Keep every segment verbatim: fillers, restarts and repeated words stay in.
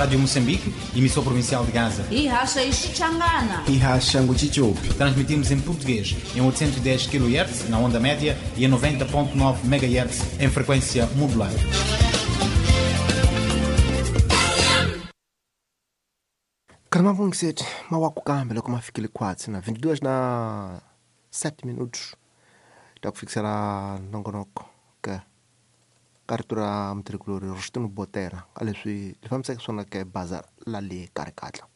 Rádio Moçambique, emissora provincial de Gaza. Ihasha Ixichangana. Ihasha Nguchichopi. Transmitimos em português em oitocentos e dez quilohertz na onda média e em noventa ponto nove megahertz em frequência modulada. Karama mawaku kambe loko ma fikile khwatsi na vinte e dois na sete minutos ta ku fikisela nongonoko ke ka rito ra mutirhikulori Rostino Botera ka leswi li fambisaka swona ke baza la le karikatla.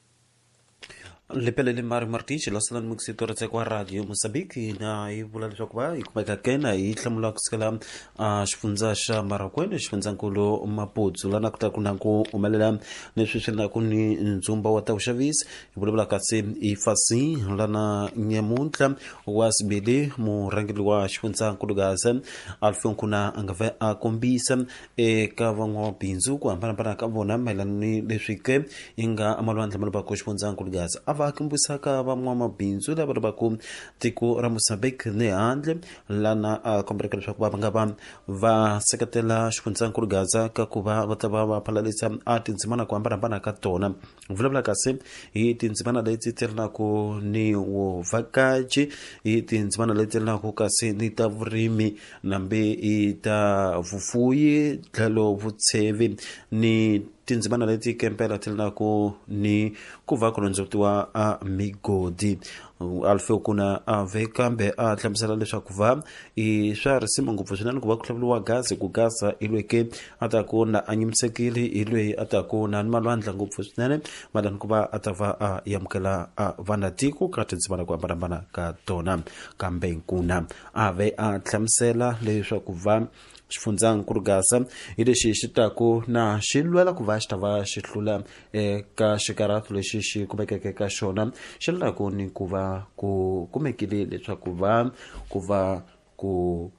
Lepelele Mari Martins lasala mukisito ra kwa Radio Mozambique na yi vula leswaku va yi kumeka kena yi hlamula kusukela a xifundza xa Marakwene, xifundzankulu Maputo, lana ku ta ku na ku humelela leswi swi na ku ni ndzumba wa ta vuxavisi. Hi vulavula kasi i fasi lana nyamuntlha wa sibili murhangeri wa xifundzankulu Gaza Alfio Nkuna a nga va a kombisa eka van'wamabindzu ku hambanahambana ka vona mayelana ni leswi ke yi nga malwandla ma lavaka xifundzankulu Gaza a va kombisaka van'wamabindzu lava lavaka tiko ra Mozambique ni handle lana a kombeleka leswaku va nga va va seketela xifundzankulu Gaza ka ku va va ta va va phalalisa a tindzimana ku hambanahambana ka tona. Vulavula kasi hi tindzimana leti ti ri naku ni vuvhakachi, hi tindzimana leti ri naku kasi ni ta vurimi nambe i ta vufuyi tlhelo vutshevi ni tindzimana leti kempela ti ri naku ni ku va ku londzovutiwa a migodi. Alfeo Kuna a ve kambe a hlamusela leswaku va i swa risima ngopfu swinene ku va ku hlawuriwa gazi ku Gaza i lweyi ke a ta ku na a nyimisekile, i lweyi a ta ku na ni malwandla ngopfu swinene mayelana ku va a ta va a amukela a vanatiko ka tindzimana ku hambanahambana ka tona. Kambe Nkuna a ve a hlamusela leswaku va xifundzankulu Gaza hi lexi xi taku na xi lwela ku va xi ta va xi hlula eka xikarhato lexi xi kumekeke ka xona xi lwelaku ni ku va ku kumekile leswaku va ku va ku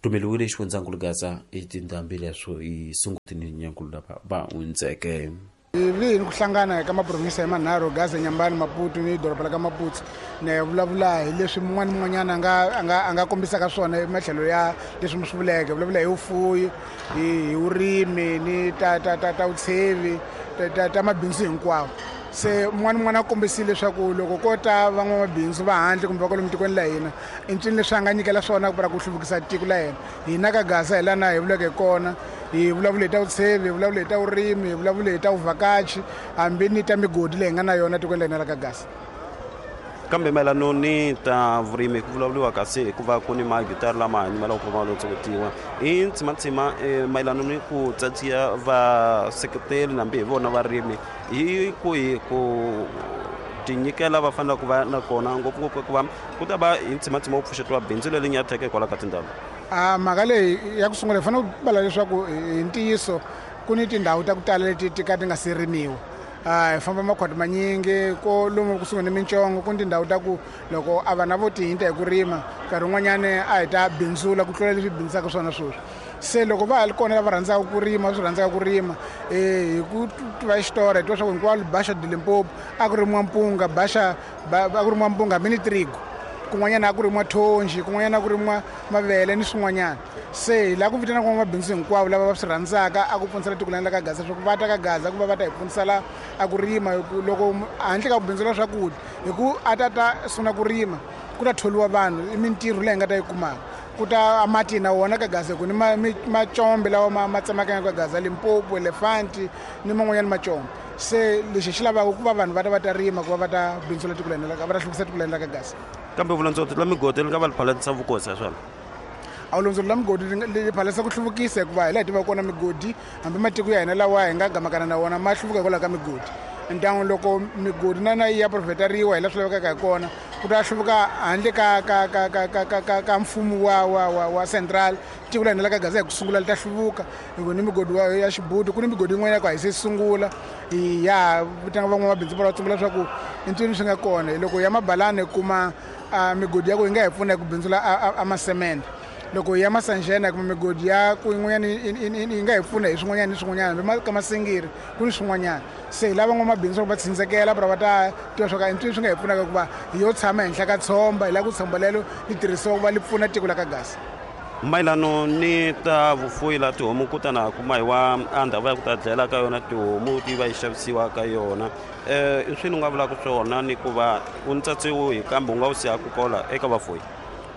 tumeliwile xifundzankulu Gaza i tindhambi leswo i sungutini nyankulu lava va hundzeke. Vi hi ku hlangana ka maprovinsi ya manharhu, Gaza, Nyambani, Maputo ni doroba la ka Maputo, ni vulavula hi leswi mun'wana mun'wanyana a nga a nga a nga kombisaka swona ematlhelo ya leswi mi swi vuleke. Vulavula hi vufuwi, hi vurimi ni ta ta ta ta vutshevi, ta ta ta mabindzu hinkwawo. Se mun'wana mun'wana a kombisile leswaku loko ko ta van'wamabindzu va handle kumbe va kwalomu tikweni la hina, i ncini leswi a nga nyikela swona ku ra ku hluvukisa tiko la hina. Hina ka Gaza hi lana hi vuleke hi kona, hi vulavule hi ta vutshevi, hi vulavule hi ta vurimi, hi vulavule hi ta vuvhakachi, hambi ni ta migodi leyi hi nga na yona tikweni la hina ra ka Gaza. Kambe mayelana ni ta vurimi ku vulavuriwa kasi hikuva ku ni magitari lama hanyimela ku va londzovutiwa i ntsimantsima mayelana ni ku tsatsiya vaseketeli nambi hi vona varimi hi ku hi ku tinyikela va fanele ku va na kona ngopfungopfu hikuva ku ta va hi ntsimantsima wo pfuxetiwa bindzu leri nyatheke hikwalaho ka tindhawu. A mhaka leyi ya ku sungula hi fanele ku vala leswaku hi ntiyiso ku ni tindhawu ta ku tala leti ti ka ti nga se rimiwa. Hi famba makhwati manyingi ko lomu kusuhi ni mintsongo, ku ni tindhawu ta ku loko a vana vo tihinta hi ku rima nkarhi wun'wanyani a hi ta bindzula ku tlula leswi bindzaka swona sweswi. Se loko va ha ri kona lava rhandzaka ku rima swi rhandzaka ku rima hi ku tiva xitori hi tiva swa ku hinkwalo Baxa de Limpopo a ku rimiwa mpunga, Baxa a ku rimiwa mpunga hambi ni trigo, kun'wanyana a ku rimiwa thonji, kun'wanyana a ku rimiwa mavele ni swin'wanyana. Se hi lava ku vitana van'wamabindzu hinkwavo lava va swi rhandzaka a ku pfunisela tiko la ka Gaza leswaku va ta ka Gaza ku va va ta hi pfunisela a ku rima. Loko handle ka ku bindzula swakudya hi ku a ta ta sungula ku rima ku ta tholiwa vanhu, i mintirho leyi hi nga ta yi kumaka. Ku ta mati na wona ka Gaza ku ni macombe lawa ma ma tsemakanyaka ka Gaza, Limpopo, Elefanti ni man'wanyana macombe. Se lexi xi lavaka ku va vanhu va ta va ta rima ku va va ta bindzula tiko la hina, va ta hluvukisa tiko la hina ka Gaza. Kambe vulondzoti la migodi li nga va li phalanisa vukosi swona. A vulondzoti la migodi li phalanisa ku hluvukisa hikuva hi laha hi tivaka kona migodi hambi matiko ya hina lawa hi nga gamakana na wona ma hluvuka hikwalaho ka migodi. Ndyangu loko migodi na na yi ya profeteriwa hi laha swi lavekaka hi kona ku ta hluvuka handle ka ka ka ka ka ka ka ka mfumo wa wa wa wa central. Tiko la hina la ka Gaza hi ku sungula li ta hluvuka hi ku ni migodi wa ya Xibuti, ku ni migodi yin'wana ya ku a hi se sungula hi ya vitana van'wamabindzu va tsungula leswaku i ncini swi nga kona. Loko ya mabalani hi kuma migodi ya ku yi nga hi pfuna hi ku bindzula a masemende, loko ya Masanjena kuma migodi ya ku yin'wanyana yi nga hi pfuna hi swin'wanyana ni swin'wanyana, hambi ka Masingiri ku ni swin'wanyana. Se hi lava van'wamabindzu va tshundzekela va ta tiva swa ku i ncini swi nga hi pfunaka hikuva hi yo tshama henhla ka tshomba, hi lava ku tshomba lelo li tirhisiwa ku va li pfuna tiko la ka Gaza. Mayelano ni ta vufuyi la tihomu ku ta na kuma hi wa a ndhawu ya ku ta dlayela ka yona tihomu ti va yi xavisiwa ka yona. um i swini u nga vulaka swona ni ku va u ntsatsi wihi kambe u nga wu siyaku kola eka vafuyi?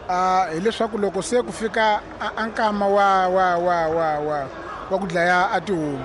Uh, hileswaku loko se ku fika a nkama wa wa wa wa wa wa ku dlaya a tihomu,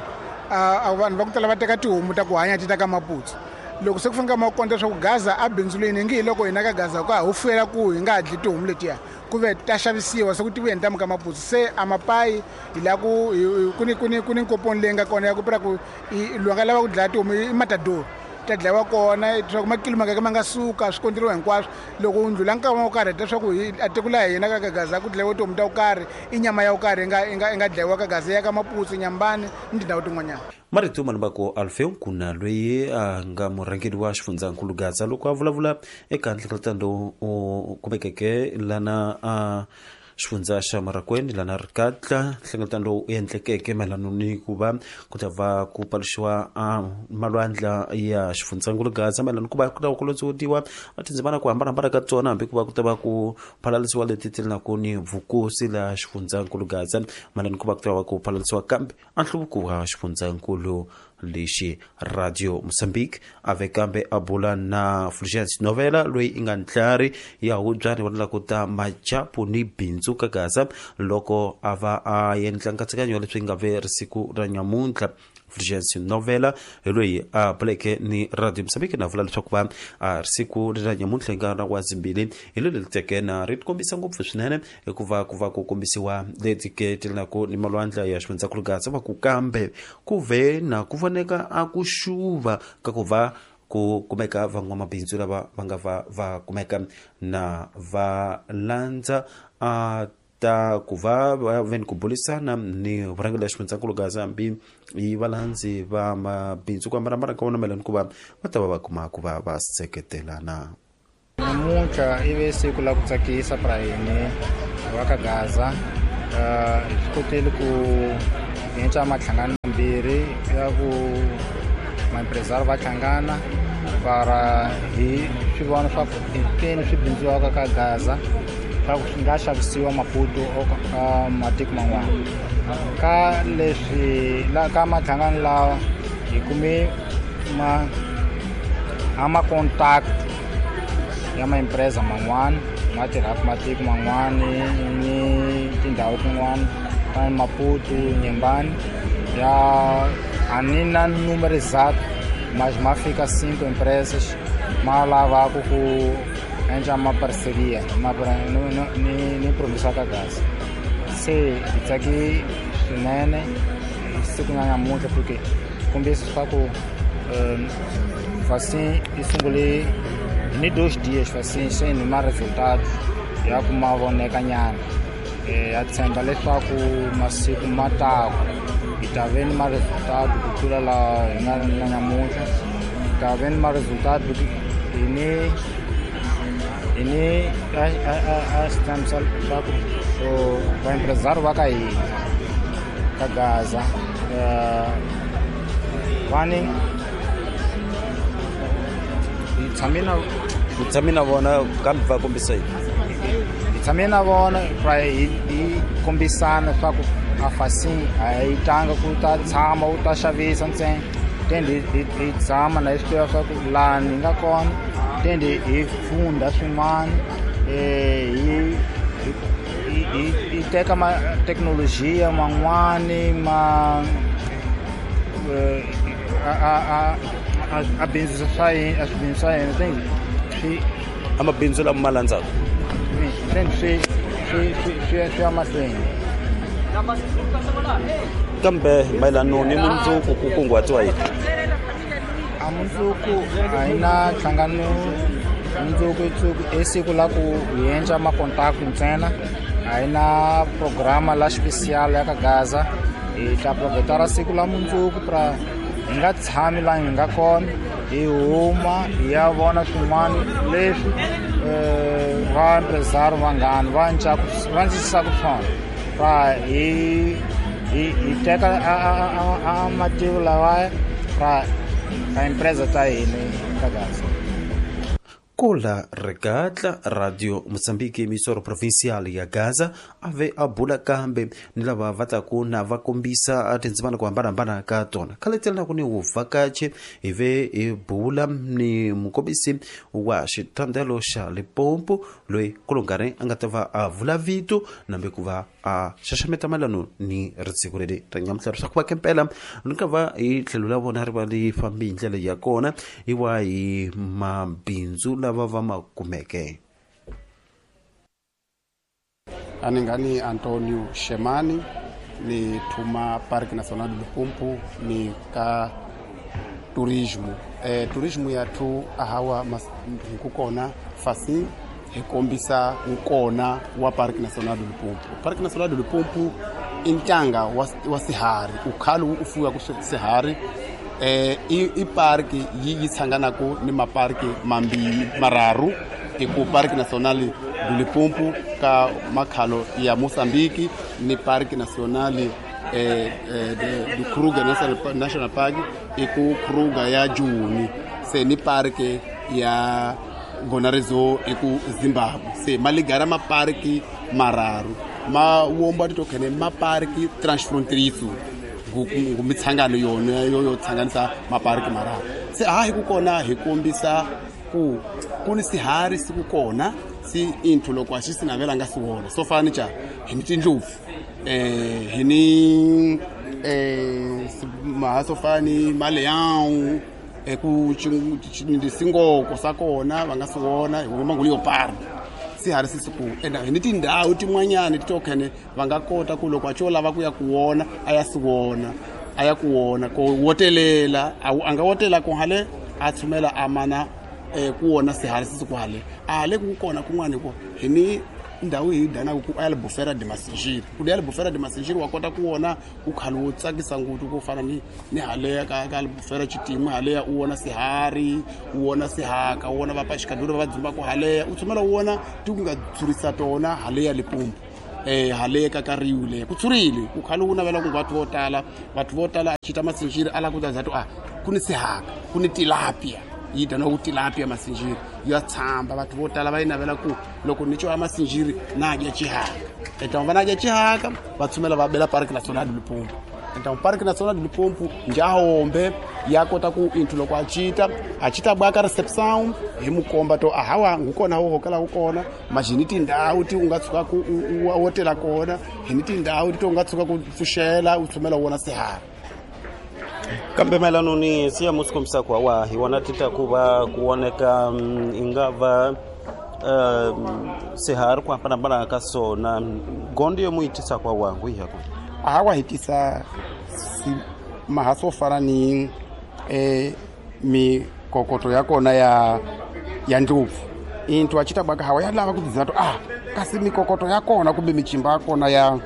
uh, vanhu va ku tala va teka tihomu ta ku hanya ti ta ka Maputo. Loko se ku fika nkama wa ku leswaku Gaza a bindzuleni ngi hi loko hina ka Gaza ka ho fuyela ku hi nga dli tihomu letiya ku ve ta xavisiwa se ku tiveni ta muka Maputo. Se a mapayi hi la ku ku ni ku ni ku ni nkoponi leyi nga kona ya ku pira ku loyi a nga lava ku dlaya tihomu i matador ta dlayiwa kona leswaku makilo mangaka ma nga suka swi konteriwa hinkwaswo. Loko u ndlula nkama wo karhi leswaku a tiko la hina ka Gaza ku dlayiwa tihomu ta ku karhi i nyama ya ku karhi yi nga yi nga yi nga dlayiwa ka Gaza ya ka Maputo, Nyambani ni tindhawu tin'wanyana. Marito Malubako Alfeu kuna loyi a nga murhangeri wa xifundzankulu Gaza loko a vulavula eka nhlengeletano lowu u kumekeke lana a xifundza xa Marakweni lana Rikatla. Nhlengeletano lowu u endlekeke mayelana ni ku va ku ta va ku paluxiwa a malwandla ya xifundzankulu Gaza mayelana ku va ku ta ku lotsodiwa a tindzimana ku hambanahambana ka tona hambi ku va ku ta va ku phalalisiwa leti ti na ku ni vukosi la xifundzankulu Gaza mayelana ku va ku ta va ku phalalisiwa kambe a nhluvuko wa xifundzankulu lexi. Radio Mozambique ave kambe a bula na Fulgence Novela loyi i nga ntlhari ya hubyani va la ku ta majapu ni bindzu ka Gaza loko a va a endla nkatsakanyo leswi nga ve risiku ra nyamuntlha. Fulgence Novela hi loyi a buleke ni Radio Mozambique na vula leswaku va a risiku ra nyamuntlha hi nkarhi wa zimbili hi leli teke na ri kombisa ngopfu swinene hikuva ku va ku kombisiwa leti ke ti na ku ni malwandla ya xifundzankulu Gaza va ku kambe ku ve na ku voneka a ku xuva ka ku va ku kumeka van'wamabindzu lava va nga va va kumeka na va landza a ta ku va va ve ni ku burisana ni vurhangeri la xifundzankulu Gaza hambi hi valandzi va mabindzu ku hambanahambana ka vona mayelana ku va va ta va va kuma ku va va seketelana. Namuntlha i ve siku la ku tsakisa pra hina va ka Gaza. Hi swi kotile ku endla mahlangano mambirhi ya ku maempresario va hlangana para hi swi vona swa ku keni swi bindziwaka ka Gaza swa ku swi nga xavisiwa Maputo ka matiko man'wana. Ka leswi la ka mahlangano lawa hi kume ma a ma contact ya maempresa man'wana ma tirhaka matiko man'wana ni tindhawu tin'wana ta Maputo, Nyembani ya a ni na número exato, mas ma fika cinco empresas ma lavaka ku endla ma parceria ma ni ni província ka Gaza. Se hi tsaki swinene siku na namuntlha porque kombisa leswaku Facim yi sungule ni dois dias Facim sem ma resultados ya ku ma voneka nyana. Ya tshemba leswaku masiku ma taku hi ta ve ni ma resultado ku tlula la hi nga na namuntlha. Hi ta ve ni ma resultado hi ni hi ni a a a xitshembiso leswaku vaempresario va ka hina ka Gaza va ni hi tshame na ku tshame na vona kambe va kombisa yini? Hi tshame na vona hi hi kombisana leswaku a Facim a yi tanga ku ta tshama u ta xavisa ntsena. Tende hi hi tshama na hi swi tiva swa ku lani hi nga kona tende hi funda swin'wana hi hi hi teka ma thekinolojiya man'wani ma a a a a bindzu swa hina a swibindzu swa hina tende swi a mabindzu lama ma landzaka tende swi swi swi swi swi ya mahlweni. Kambe mayelano ni mundzuku ku kunguhatiwa yini? A mundzuku a hi na nhlangano mundzuku i siku la ku hi endla makontakto ntsena. A hi na programa la special ya ka Gaza. Hi ta aproveitar siku la mundzuku pra hi nga tshami laha hi nga kona hi huma hi ya vona swin'wana leswi va empresario vangani va va antswisaka swona pra hi hi hi teka a a a mativo lawaya pra a empresa ta hina ka Gaza. Kola Regatla Radio Mozambique emissora provincial ya Gaza ave a bula kambe ni lava va taku na va kombisa tindzimana ku hambanahambana ka tona khaletela ku ni vuvhakachi hi ve hi bula ni mukombisi wa xithandelo xa Limpopo loyi kulungare a nga ta va a vula vito nambe ku va a xaxameta mayelano ni risiku leri ra nyamuhla swa ku va kempela ni ka va hi tlhelo la vona ri va li fambi hi ndlela ya kona hi wa hi mabindzu lava va ma kumeke. Aningani Antonio Shemani ni thuma Parque Nacional do Limpopo ni ka turismo. Eh, turismo ya thu ahawa hi kona fasi hi kombisa nkona wa Parque Nacional do Limpopo. Parque Nacional do Limpopo i ntanga wa, wa sihari ukhalo u fuya ku sihari. Eh, i, i parki yi yi tshanganaku ni maparki mambili mararu i ku Parque Nacional do Limpopo ka makhalo ya Mozambique ni Parque Nacional eh, eh, do Kruger National, National Park i ku Kruger ya Juni se ni parki ya Gonarezhou i ku Zimbabwe se maligara maparki mararu ma womba titokhene maparki transfronteriso mitshangano yona yo yo tsanganisa maparki mararu se a hi ku kona hi kombisa ku ku ni sihari si ku kona si inthu loko a xi si navela nga si wona so fana cha hi ni tindlopfu eh hi ni eh mahaso fani maleão ku singoko sa kona va nga si wona hi vona ngulu yo park sihari si siku enda hi ni tindhawu tin'wanyana titokhene va nga kota ku loko a xo lava ku ya ku wona a ya si wona a ya ku wona ko wotelela a nga wotela ku hale a tshumela a mana eh ku wona sihari si siku hale a le ku kona kun'wana ku hi ni ndhawu hi danaku ku Albufeira de Masinjiri ku ya Albufeira de Masinjiri wa kota ku wona u khalo wo tsakisa ngopfu ku fana ni ni haleya ka ka Albufeira xitimu haleya u wona sihari u wona sihaka u wona vapaxikadura va dzumba ku haleya u tshumela u wona ti ku nga tshurisa tona haleya Limpopo eh haleya ka ka Riu le ku tshurile ku khalo u navela ku vathu vo tala vathu vo tala a xita Masinjiri ala ku za to a ku ni sihaka ku ni tilapia yi dana ku tilapia Masinjiri ya tshamba batho vo tala va yi navela ku loko ni twa Masinjiri na dya xihaka eta va na dya xihaka va tshumela va bela Parque Nacional do Limpopo eta Parque Nacional do Limpopo njahombe ya kota ku inthu loko a cita a cita bwaka reception hi mukomba to ahawa ngukona wo hokela ku kona majini tindhawu ti u nga tshuka ku u wotela kona hi ni tindhawu ti u nga tshuka ku pfuxela u tshumela wona sihari. Kambe mayelano ni siya musi kombisa ku wa hi wona tita ku va ku voneka i nga va sihari ku hambanahambana ka swona gondo yo mu yi tisa kwa wangu hi ku a wa hi tisa mahaso fana ni eh mikokoto ya kona ya ya ndlopfu into a cita baka hawa ya lava ku tiza to ah kasi mikokoto ya kona kumbe michimba ya kona ya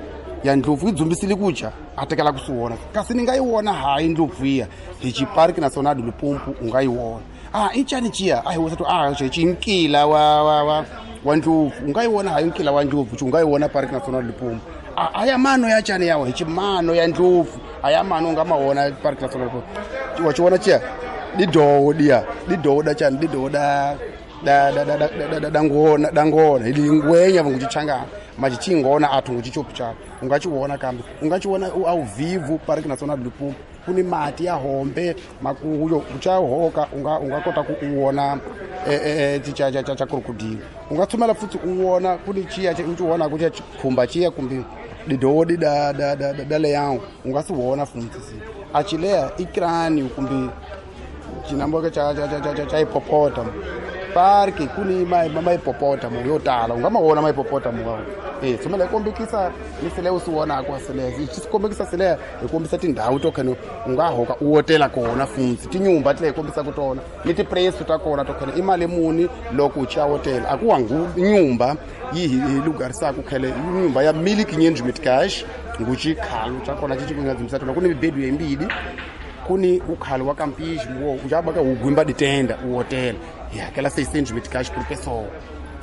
ya ndlopfu yi dzumbisile ku dya a tekela ku swi wona kasi ni nga yi wona hayi ndlopfu iya hi xiparki Nacional do Limpopo u nga yi wona ah i cani ciya a hi wosa to ah xi nkila wa wa wa wa ndlopfu u nga yi wona hayi nkila wa ndlopfu u nga yi wona Parque Nacional do Limpopo a aya mano ya cani yawo hi ximano ya ndlopfu aya mano u nga ma wona Parque Nacional do Limpopo wa xi wona ciya didowo diya didowo da cani didowo da da da da da da da ngona da ngona ili ngwenya vanguchichangana machichingona athu nguchichopu chako ungachiwona kambe ungachiwona ao vivo Parque Nacional do Limpopo ku ni mati ya hombe makuyo uchahoka unga unga kota ku uwona eh eh cha cha cha crocodile unga tshumela futhi uwona ku ni chiya uchiwona ku chikhumba chiya kumbe didodi da da da da leão unga si wona futhi si achilea ikrani kumbe chinamboka cha cha cha cha cha hipopotamo parki kuni ma ma hipopotamo yo tala unga mawona ma hipopotamo wa eh tshumela kombekisa ni sele u si wona kwa sele xi kombekisa sele hi kombisa tindhawu to khene u nga hoka u wotela kona futhi tinyumba ti kombisa ku tona ni ti-price ta kona to khene i mali muni loko u cha hotela a ku wangu nyumba yi hi lugarisaka khele nyumba ya mil quinhentos meticais nguchi khalo cha kona xi nga dzimisa tona ku ni mibedu yimbili kuni ukhalo wa campismo wo ujaba ugwimba ditenda u hotela hi hakela seiscentos meticais por pessoa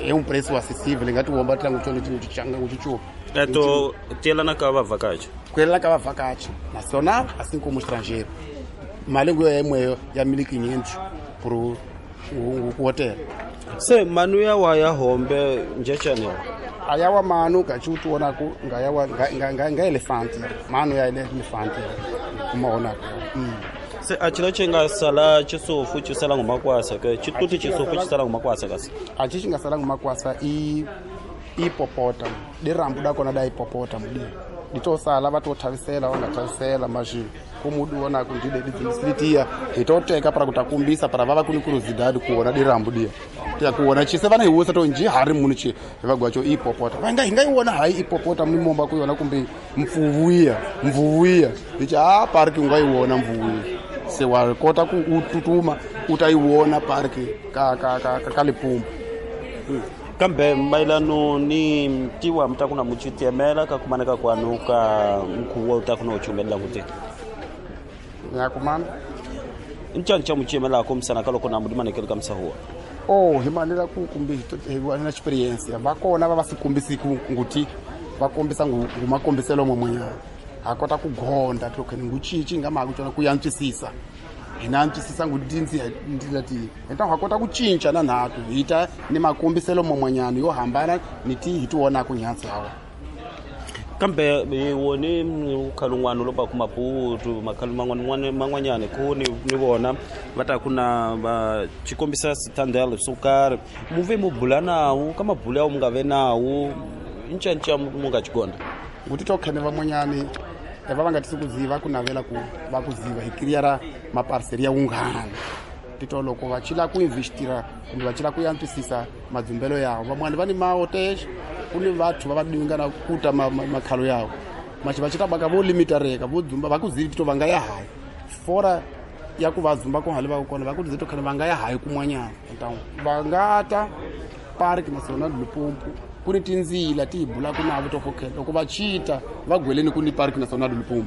é um preço acessível ngathi uhomba tlangu tshone tshanga uchichupa eto tielana ka vavhakachi kuelana ka vavhakachi nacional assim como estrangeiro mali nguyo yemweyo ya mil quinhentos por o hotel. Se manu ya wa ya hombe njechane ayawa manu gachutu wona ku ngayawa nga nga nga elephant manu ya elephant kumona mm. Se achilo chinga sala chisofu chisala ngumakwasa ke chituti chisofu chisala ngumakwasa kasi achi chinga sala ngumakwasa i ipopota dirambu dakona da ipopota mudi ditosala vatothavisela vangathavisela mazvi kumudu wona kundide didzimsilitia hitoteka para kutakumbisa para vava kuni kuruzidadi kuona dirambu dia ya kuona chise vana hiwusa to nji hari munu chi vagwacho ipopota vanga hingaiona hai ipopota mumomba kuiona kumbe mfuvuya mvuvuya ndichi a parki ungaiona mvuvuya se wa kota ku ututuma utaiona parki ka ka ka ka Limpopo. Hmm. Kambe mailano ni tiwa mtakuna muchitiemela kakumaneka kwanu ka mkhuwa utakuna uchumelela kuti nyakumana nchancha muchiemela komsana kaloko na mudimanekele kamsahuwa oh himanela ku kumbe na experience vakona va va sikumbisi ku nguti va kombisa ngumakombiselo momwenyana ha kota ku gonda token nguchichi nga mhaka tsona ku yantswisisa hina antswisisa ngudinzi ndlela ti enta ha kota ku cinca na nhatu hita ni makombiselo momwenyana yo hambana ni ti hi tiwona ku nyantsi hawa. Kambe woni ukhalungwana lo ba ku Maputo makhalu man'wana man'wanyana ku ni ni vona va ta ku na va chikombisa sitandel swo karhi muve mu bula nawu ka mabulu ya mu nga ve nawu ncanca mu nga chigonda nguti to khene van'wanyani va va nga tisi ku ziva ku navela ku va ku ziva hi kiriyara maparcel ya wunghana tito loko va chila ku investira kumbe va chila ku yantswisisa madzumbelo yawo van'wani va ni maotex ku ni vathu va va dinga na kuta makhalo yawo machi va chita baka vo limitareka vo dzumba va ku zivi tito va nga ya hayi fora ya ku va dzumba ku hali va kona va ku zivi to khale va nga ya hayi kun'wanyana ntangu va nga ta Park National Limpopo ku ni tindzila ti hi bulaka navo to khokela loko va chita va gweleni ku ni Park National Limpopo.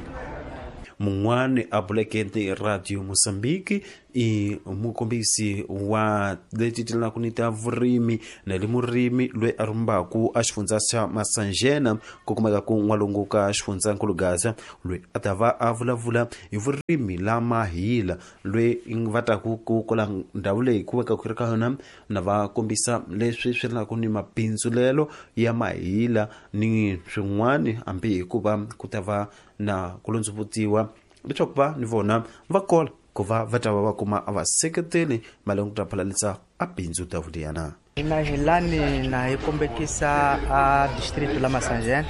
Mun'wani a buleke Radio Mozambique i mukombisi wa leti tilaka ni ta vurimi na le murimi loyi a rumbaku a xifundza xa Masanjena ku kumeka ku n'walungu ka xifundzankulu Gaza loyi a ta va a vulavula hi vurimi la mahila loyi va taku ku kola ndhawu leyi ku veka ku ri ka yona na va kombisa leswi swi ri ni mabindzulelo ya mahila ni swin'wani hambi hikuva ku ta va na ku londzovutiwa leswaku va ni vona va kola ku va va ta va va kuma a va seketeli mali ku ta phalalisa a bindzu ta vuliyana. Hina hi lani na hi kombekisa a district la Masanjena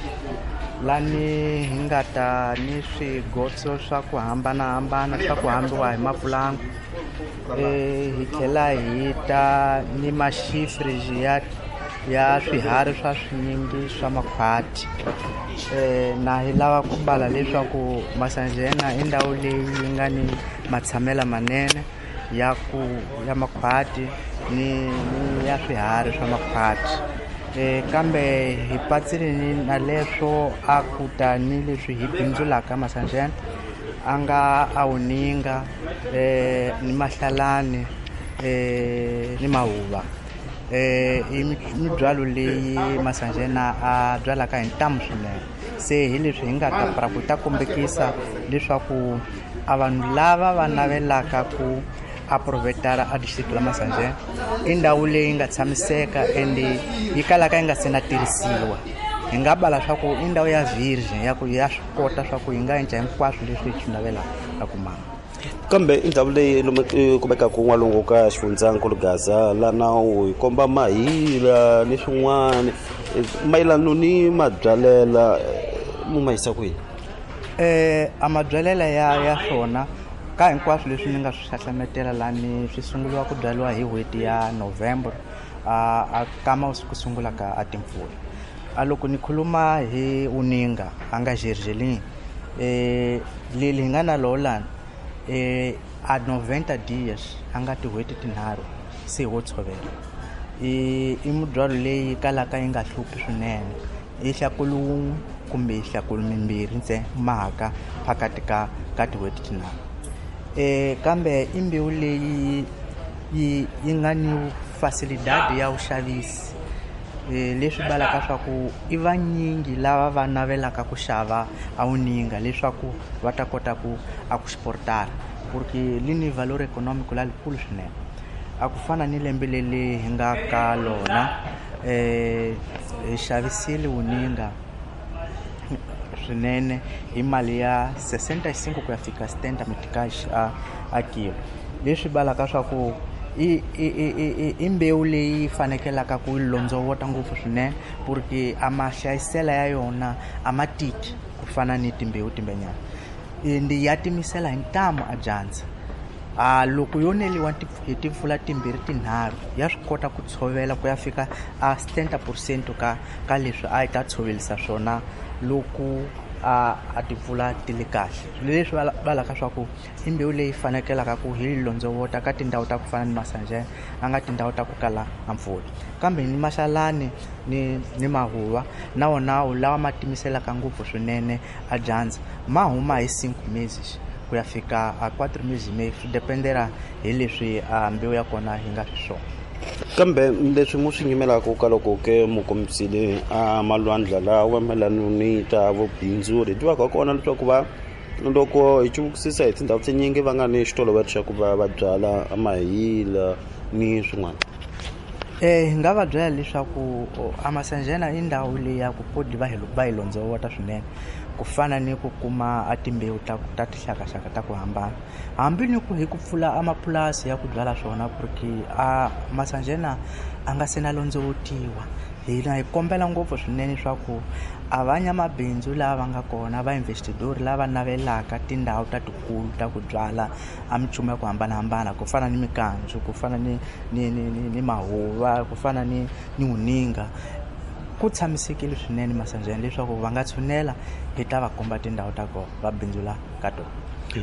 lani hi nga ta ni swigotso swa ku hambanahambana swa ku hambiwa hi mapulangu e hi tlhela hi ta ni maxifriji ya ya swiharhi swa swinyingi swa makhwati eh na hi lava ku bala leswaku Masanjena i ndhawu leyi yi nga ni matshamela manene ya ku ya makhwati ni ni ya swiharhi swa makhwati eh kambe hi patsile ni na leswo a ku ta ni leswi hi bindzulaka Masanjena a nga a wuninga eh ni mahlalani eh ni mahuva eh i mibyalo leyi Masanjena a byalaka hi ntamu swinene se hi leswi hi nga ta pra ku ta kombekisa leswaku a vanhu lava va navelaka ku aprovetara a district la Masanjena i ndhawu leyi nga tshamiseka ende yi kalaka yi nga se na tirhisiwa hi nga bala swa ku i ndhawu ya virgin ya ku ya swi kota swa ku hi nga endla hinkwaswo leswi hi swi navelaka ku mama. Kambe i ndhawu leyi kumekaka n'walungu ka xifundzankulu Gaza la nawu hi komba mahila ni swin'wana mayelano ni mabyalela mu ma yisa kwini eh a mabyalela ya ya swona ka hinkwaswo leswi ni nga swi hlahlametela lani swi sunguriwa ku byariwa hi n'hweti ya November a a kama ku sungula ka a timpfula a loko ni khuluma hi uninga a nga gergelini eh leli hi nga na lolani eh a noventa dias a nga tin'hweti tinharhu se wo tshovela i i mubyalo leyi kalaka yi nga hluphi swinene i hlakulu wun'we kumbe hlakulu mimbirhi ntsena mhaka phakati ka ka tin'hweti tinharhu eh kambe i mbewu leyi yi yi nga ni facilidade ya vuxavisi eh leswi balaka swa ku i vanyingi lava va navelaka ku xava a wuninga leswaku va ta kota ku a ku exportara porque li ni valor econômico la likulu swinene A ku fana ni lembe leri hi nga ka lona eh hi xavisile wuninga swinene hi mali ya sessenta e cinco ku ya fika setenta meticais a a kilo. Leswi balaka swa ku i i i i mbewu leyi fanekelaka ku londzovota ngopfu swinene porque a mahlayisela ya yona a ma tiki ku fana ni timbewu timbenyana. Ende ya timisela hi ntamu a dyandza. A loko yo neliwa hi timpfula timbirhi tinharhu ya swi kota ku tshovela ku ya fika a setenta por cento ka ka leswi a yi ta tshovelisa swona loko a a timpfula ti le kahle. Leswi valaka swa ku i mbewu leyi fanekelaka ku hi londzovota ka tindhawu ta ku fana ni Masanjana a nga tindhawu ta ku kala a mpfula. Kambe ni maxalani ni ni mahuva na wona lawa ma timiselaka ngopfu swinene a dyandza ma huma hi cinco meses ku ya fika a quatro meses e meio, swi dependera hi leswi a mbewu ya kona yi nga xiswona. Kambe leswi mu swi nyimelaka ka loko ke mu kombisile a malwandla lawa mayelana ni ta vubindzuri hi tivaka kona leswaku va loko hi cuvukisisa hi tindhawu tinyingi va nga ni xitolovelo xa ku va va byala mahila ni swin'wana. Eh hi nga va byela leswaku a Masanjana i ndhawu leyi ya ku podi va hi va hi londzovota swinene ku fana ni ku kuma a timbewu ta ta tinxakaxaka ta ku hambana hambi ni ku hi ku pfula amapurasi ya ku byala swona porque a Masanjana a nga se na londzovotiwa. Hina hi kombela ngopfu swinene swa ku a vanyamabindzu lava nga kona va investidori lava navelaka tindhawu ta tikulu ta ku byala a minchumu ya ku hambanahambana ku fana ni mikanzu, ku fana ni ni ni ni mahuva, ku fana ni ni wuninga. Ku tshamisekile swinene Masanjana leswaku va nga tshunela hi ta va komba tindhawu ta kona va bindzula ka tona.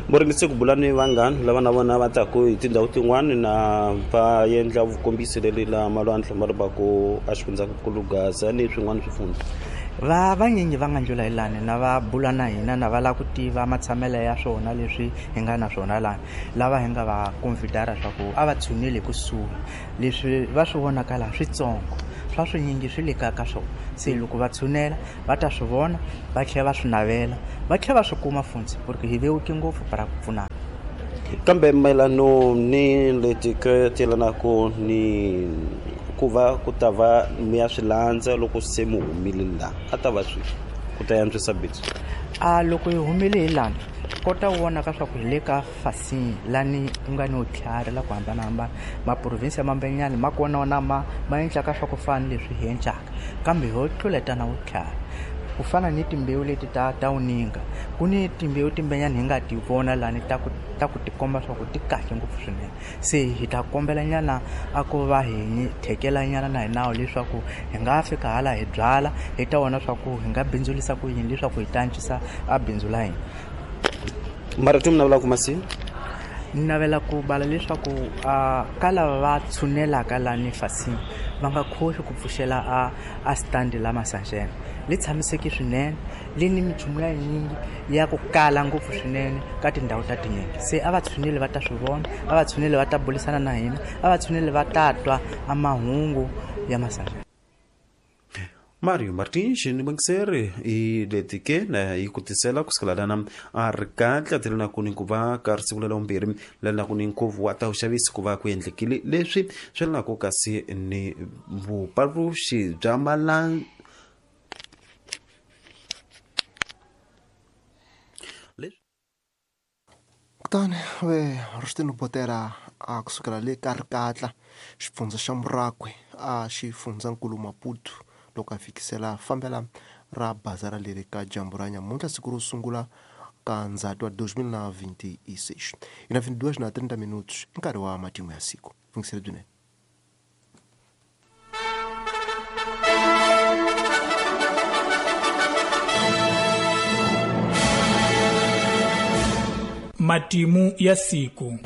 Mu ringese ku bula ni vanghana lava na vona va taku hi tindhawu tin'wani na va endla vukombisi leri la malwandla ma ri va ku a xifundzankulu Gaza ni swin'wana swifundza. Va vanyingi va nga ndlula hi lani na va bula na hina na va lava ku tiva matshamelo ya swona leswi hi nga na swona lani lava hi nga va convidara swa ku a va tshuneli kusuhi leswi va swi vonaka laha switsongo swa swinyingi swi le ka ka swona. Se loko va tshunela va ta swi vona va tlhela va swi navela va tlhela va swi kuma funtsi porque hi vewuke ngopfu para ku pfunana. Kambe mayelano ni leti ke ti yelanaka ni ku va ku ta va mi ya swi landza loko se mi humile laha a ta va swi ku ta antswisa bindzu. A loko hi humile hi lani kota ku vona ka swa ku hi le ka Fasini lani ku nga ni vutlhari la ku hambanahambana maprovinsi ya mambenyani ma kona wona ma ma endlaka swa ku fana ni leswi hi endlaka kambe ho tluletana vutlhari ku fana ni timbewu leti ta ta wuninga ku ni timbewu timbenyani hi nga ti vona lani ta ku ta ku tikomba swa ku ti kahle ngopfu swinene. Se hi ta kombela nyana a ku va hi thekela nyana na hi nawu leswaku hi nga fika hala hi byala hi ta vona swa ku hi nga bindzulisa ku yini leswaku hi ta antswisa a bindzu la hina. Marito mi navelaka masi? Ni navela ku bala leswaku a ka lava va tshunelaka lani Fasini va nga khohli ku pfuxela a a stand la Masanjana li tshamiseki swinene li ni minchumu ya yinyingi ya ku kala ngopfu swinene ka tindhawu ta tinyingi. Se a va tshuneli va ta swi vona, a va tshuneli va ta bulisana na hina, a va tshuneli va ta twa a mahungu ya Masanjana. Mario Martins ni bangiseri i leti ke na yi ku tisela ku sukela lana a ri kahle tlhela na ku ni ku va ka ri siku lela vumbirhi lana ku ni nkhuvo wa ta vuxavisi ku va ku endlekile leswi swi na ku kasi ni vupaluxi bya malan Kutani ve Rustino Botera a kusukela le ka Rikatla xifundza xa Murakwe a xifundzankulu Maputo loko a fikisela fambela ra bazara leri ka dyambu ra nyamuntlha siku ro sungula ka Ndzhati wa dois mil na vinte e seis. I na vinte e dois na trinta minutos i nkarhi wa matimu ya siku. Fungisele byinene. Matimu ya siku.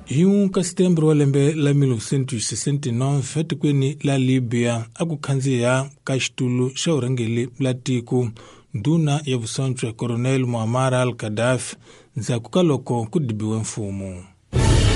Hi un ka setembro wa lembe la mil novecentos sessenta e nove etikweni la Libya a ku khandziya ka xitulu xa vurhangeri la tiko ndhuna ya vusontshwa Coronel Muammar al-Gaddafi ndzhaku ka loko ku dibiwe mfumo.